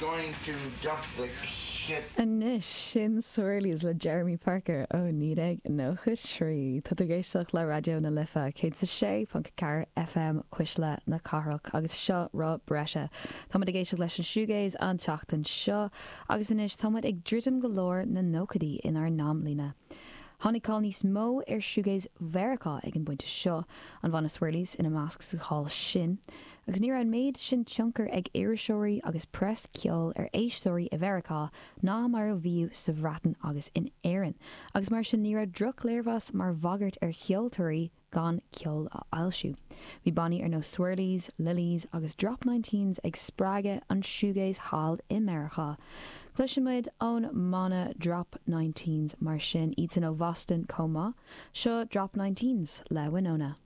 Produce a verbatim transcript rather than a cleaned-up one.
going to dump the shit. Anois sin Swirlies le Jeremy Parker ó naoi déag nócha trí. Tá tú ag éisteacht le Raidió na Life céad is a sé ponc ceathair FM Cuisle na Cathrach agus seo Roth Breise. Táimid ag éisteacht leis an shoegaze an tseachtain seo agus anois táimid ag druidim go lár na nóchaidí inár n-amlíne. Tháinig cáil níos mó ar shoegaze Mheiriceá ag an bpointe seo, an banna Swirlies ina measc sa cháil sin, agus ní raibh an méid sin tionchar ag iriseoirí agus preas ceoil ar éisteoirí i Mheiriceá ná mar a bhíodh sa Bhreatain agus in Éirinn, agus mar sin ní raibh drochléirmheas mar bhagairt ar cheoltóirí gan ceol a fhoilsiú. Bhí bannaí ar nós Swirlies, Lilys agus Drop Nineteens ag spreagadh an shoegaze thall i Meiriceá. Cloisfimid ón mbanna Drop Nineteens mar sin iadsan ó Bhoston chomh maith, seo Drop Nineteens le Winona.